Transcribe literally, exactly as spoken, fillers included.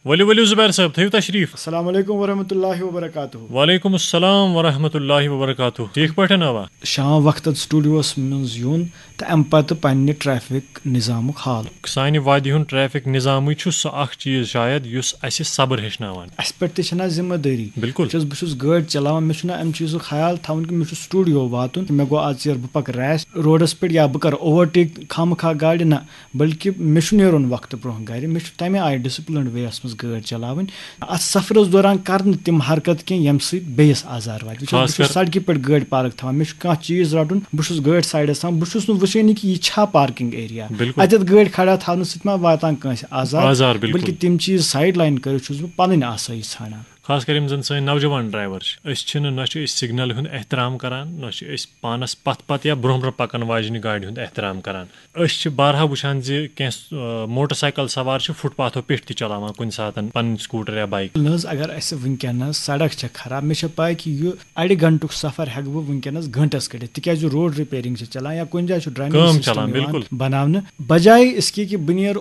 ؤلِو ؤلِو زُبیر صٲب، تھٲیِو تشریٖف۔ السلام علیکم ورحمۃ اللہ وبرکاتہ۔ وعلیکم السلام ورحمۃ اللہ وبرکاتہ۔ ٹھیٖک پٲٹھۍ اَوا؟ شام وقتن سٹوڈیوس منٛز یُن تہٕ امہِ پتہٕ پننہِ ٹریفک نظامُک حال۔ سانہِ وادی ہُنٛد ٹریفک نظامٕے چھُ سُہ اکھ چیٖز شاید یُس اَسہِ صبر ہیٚچھناوان۔ اسہِ پٮ۪ٹھ تہِ چھنہ ذمہ دٲری۔ بِلکُل۔ چھُس بہٕ چھُس گٲڑۍ چلاوان، مےٚ چھُنہ امہِ چیٖزُک خیال تھاوُن کہِ مےٚ چھُ سٹوڈیو واتُن، مےٚ گوٚو آز ژیر، بہٕ پکہٕ ریش روڈس پٮ۪ٹھ یا بہٕ کرٕ اوورٹیک خامخا گاڑِ۔ نہ، بلکہِ مےٚ چھُ نیرُن وقتہٕ برونٛہہ گرِ۔ مےٚ چھُ تمہِ آیہِ ڈسپلنڈ وے یس منٛز گٲڑۍ چلاوٕنۍ۔ اتھ سفرس دوران کرٕ نہٕ تِم حرکت کینٛہہ ییٚمہِ سۭتۍ بیٚیِس آزار واتہِ۔ وٕچھ حظ، خاص بہٕ چھُس کر سڑکہِ پٮ۪ٹھ گٲڑۍ پارک تھاوان، مےٚ چھُ کانٛہہ چیٖز رٹُن، بہٕ چھُس گٲڑۍ سایڈس تھاوان، بہٕ چھُس نہٕ وٕچھٲنی کہِ یہِ چھا پارکنگ ایریا۔ بِلکُل۔ اتٮ۪تھ گٲڑۍ کھڑا تھاونہٕ سۭتۍ ما واتان کٲنٛسہِ آزار؟ آزار، بِلکُل۔ بلکہِ تِم چیٖز سایڈ لاین کٔرِتھ چھُس بہٕ پنٕنۍ آسٲیِش ژھانڈان۔ خاص کر یِم زن سٲنۍ نوجوان ڈرایور چھِ، أسۍ چھِنہٕ، نہ چھِ أسۍ سگنل ہُنٛد احترام کران، نہ چھِ أسۍ پانس پتھ پتھ یا برونٛہہ برونٛہہ پکن واجنہِ گاڑِ ہُنٛد احترام کران۔ أسۍ چھِ بارہا وٕچھان زِ کینٛہہ، آ، موٹر سایکل سوار چھِ فُٹ پاتھو پٮ۪ٹھ تہِ چلاوان کُنہِ ساتن پنٕنۍ سکوٹر یا بایک۔ نہ حظ، اگر اسہِ وٕنکیٚنس سڑک چھےٚ خراب، مےٚ چھےٚ پاے کہِ یہِ اڑِ گھنٹُک سفر ہٮ۪کہٕ بہٕ وٕنکیٚنس گھنٹس کٔڑِتھ، تِکیازِ روڈ ریپیرنگ چھِ چلان یا کُنہِ جایہِ چھُ ڈرینیج کٲم سسٹم چلان، یِوان بِلکُل۔ بناونہٕ۔ بجایہِ اس کے کہِ بہٕ نیرٕ